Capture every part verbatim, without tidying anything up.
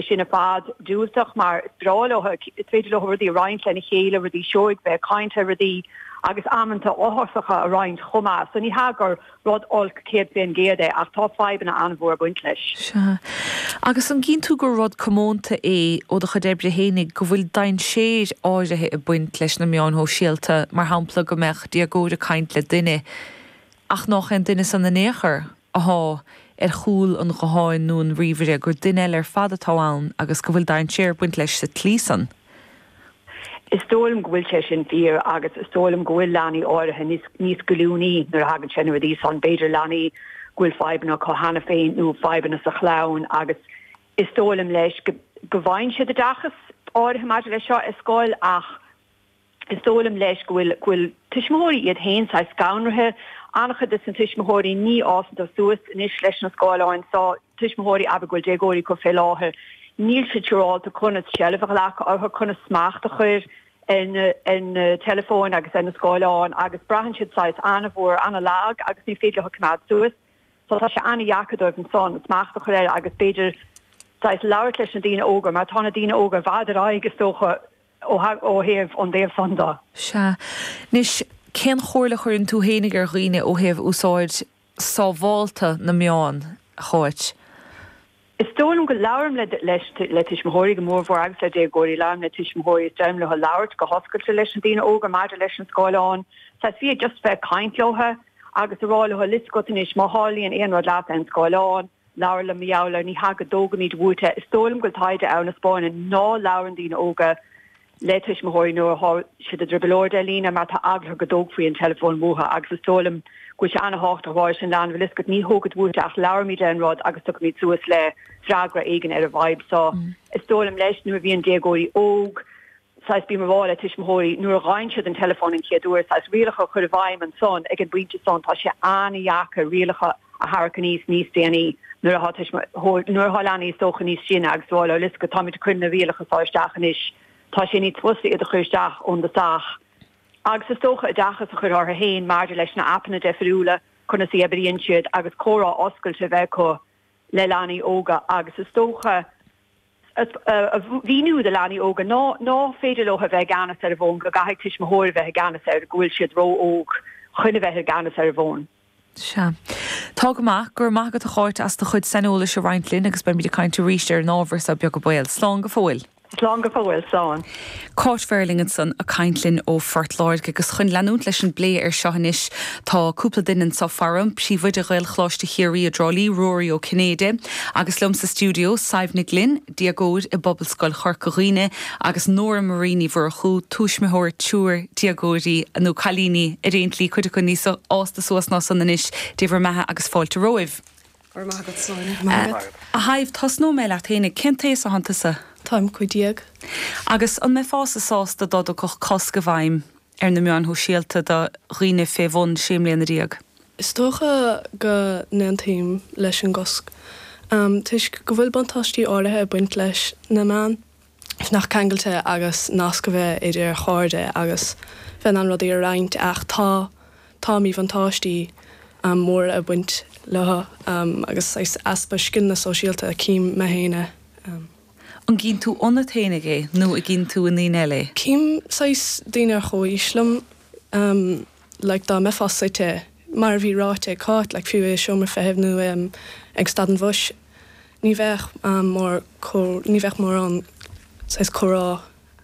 Sin ar fad diúltach, mar is breá leo, is féidir leo rudaí a roinnt lena chéile, rudaí seoigh, bheith ag caint ar rudaí agus amanta uafásacha a roinnt chomh maith. So ní hea gur rud olc céad faoin gcéad é, ach tá fadhbanna an-mhór ag baint leis. Sea. Agus an gcíonn tú gur rud comónta é ó do chuid oibre fhéinig go bhfuil dainséir áirithe ag baint leis na meáin shóisialta, mar shampla go mbeadh déagóir ag caint le duine ach nach é an duine san in aon chor athá ar chúl an ghutháin nó an ríomhaire, gur duine eile ar fad atá ann agus go bhfuil dainséar ag baint leis sa tslí san? Is dóigh liom go bhfuil sé sin fíor, agus is dóigh liom go bhfuil leanaí áirithe níos níos goilliúnaí nuair a thagann sé na rudaí san, b'fhéidir leanaí go bhfuil fadhbanna acu cheana féin nó fadhbanna sa chlann, agus is dóigh liom leis go go bhfaigheann siad oideachas áirithe maidir leis seo i scoil, ach is dóigh liom leis go bhfuil go bhfuil tuismitheoirí iad féin saghas scanraithe. An-chuid de na tuismitheoirí ní fhásann tú suas anois leis na scáileáin so, tuismitheoirí abair go bhfuil déagóirí acu fé láthair, níl siad siúrálta conas seilbh a ghlacadh orthu, conas smacht a chur ar na ar na teileafóin agus ar na scáileáin, agus braitheann siad saghas an-mhór, an-lag agus ní féidir leo coimeád suas. So tá sé an-dheacair dóibh ansan smacht a chur air agus b'fhéidir saghas labhairt leis na daoine óga, mar tá na daoine óga i bhfad ar aghaidh is dócha ó thaobh an dtaobh san de. Sea. Anois, cén chomhairle a chuireann tú fhéinig ar dhaoine ó thaobh úsáid sábhálta na meán, a Cháit? Is dóigh liom go labhraím le leis le tuismitheoirí go mórmhór agus le déagóirí, labhraím le tuismitheoirí is deirim leo labhairt go hoscailte leis na daoine óga maidir leis an scáileán. Saghas fiú just bheith ag caint leo agus a rá leo, bhfuil fhios agat anois, má tharlaíonn aon rud leat ar an scáileán, labhair liom mar gheall air, ní hea go dtógfaimid uait é. Is dóigh liom go bhfuil taighde ann a 'spáineann ná labhrann daoine óga le tuismitheoirí nuair atá siad i dtrioblóid ar líne mar tá eagla orthu go dtógfaí an teileafón uathu, agus is dóigh liom go bhfuil sé an-thábhachtach a rá leis an leanbh, bhfuil fhios agat, ní thógfad uait é ach labharfaimid ar an rud agus tiocfaimid suas le freagra éigin ar an bhfadhb so. Is dóigh liom leis nuair a bhíonn déagóirí óg, saghas bím ag rá le tuismitheoirí nuair a fhaigheann siad an teileafón an chéad uair, saghas rialacha a chur i bhfeidhm ansan ag an bpointe san, tá sé an-dheacair rialacha a tharrac aníos níos déanaí nuair atá tuismitheoir, nuair atá leanaí is dócha níos sine agus rá leo, bhfuil fhios agat, táimid ag cur na rialacha seo isteach anois, tá sé níos fusa iad a chur isteach ón dtosach. Agus is dócha oideachas a chur orthu féin maidir leis na aipeanna deifriúla, conas a oibríonn siad agus comhrá oscailte a bheith acu le leanaí óga agus is dócha a mhíniú do leanaí óga ná ná féidir leo a bheith i gceannas ar an bhfón, go gcaithfidh tuismitheoir a bheith i gceannas air, go bhfuil siad ró-óg chun a bheith i gceannas ar an bhfón. Sea. Tá go maith. Go raibh maith agat a Cháit as do chuid saineolais a roinnt linn agus beimid ag caint arís ar an ábhar seo beag an baol. Slán go fóill. Slán go fóill, slán. Cáit Verling ansan ag caint linn ó Phort Láirge, agus chun leanúint leis an bplé ar seo anois tá cúpla duine anseo faram, Príomhoide Ghaelcholáiste Chiarraí i dTrá Lí, Ruairí Ó Cinnéide, agus liom sa stiúideo Sadhbh Nic Gloinn, déagóir i bPobalscoil Chorca Dhuibhne, agus Nóra Marie Ní Mhurchú, tuismitheoir triúr déagóirí, nó cailíní ar aon tslí, cuid acu níos fásta suas ná san anois. Dé bhur mbeatha agus fáilte romhaibh. Go raibh maith agat, Sláine. Go raibh maith agat. A Shadhbh, tosnóidh mé leat fhéinig. Cén t-aos atánn tusa? Táim cúig déag. Agus an mbeifeása sásta dá dtiocfadh cosc i bhfeidhm ar na meáin shóisialta do dhaoine fé bhun sé mbliana déag? Is dócha go n-aontaím leis an gcosc, toisc go bhfuil buntáistí áirithe ag baint leis na meáin. nach ceangailte agus nasc a bheith idir chairde agus bheith in ann rudaí a roinnt, ach tá tá míbhuntáistí móra ag baint leo agus saghas easpa scileanna sóisialta, cím mé féin é. An gcíonn tú ionat fhéinig é nó an gcíonn tú i ndaoine eile é? Cím saghas daoine ar chomhaois liom, like dá mbeifeá suite, mar a bhí ráite ag Cáit, like fiú i seomra feithimh nó ag stad an bhus, Ní bheadh mór ní bheadh mórán saghas comhrá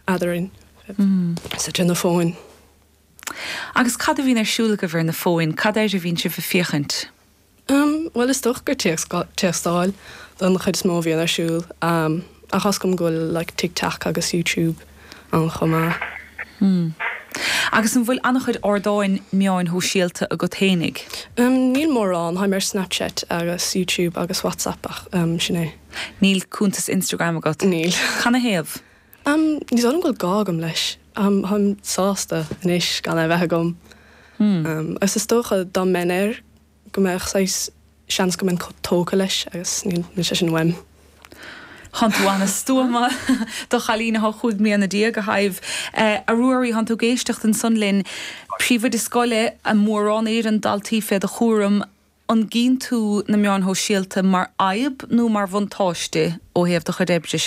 eadrainn suite ar na fóin. Agus cad a bhíonn ar siúl agaibh ar na fóin? Cad air a bhíonn sibh ag féachaint? Bhuel, is dócha gur téacstáil don chuid is mó a bhíonn ar siúl, ach tá 'fhios agam go bhfuil like TikTok agus YouTube ann chomh maith. Agus an bhfuil an-chuid ardáin meáin shóisialta agat fhéinig? Níl mórán, táim ar Snapchat agus YouTube agus WhatsApp ach sin é. Níl cuntas Instagram agat? Níl. Canathaobh? Ní dóigh liom go bhfuil gá agam leis. Táim sásta anois gan é a bheith agam. Agus is dócha dá mbeinn air go mbeadh saghas seans go mbeinn tógtha leis agus níl sé sin uaim. Thánn tú ana-stuama do chailín athá chúig mbliana déag, a Shadhbh. A Ruairí, thánn tú ag éisteacht ansan linn. Príomhoide scoile, mórán Éireann, daltaí fé do chúram. An gcíonn tú na meáin shóisialta mar fhadhb nó mar bhuntáiste ó thaobh do chuid oibre?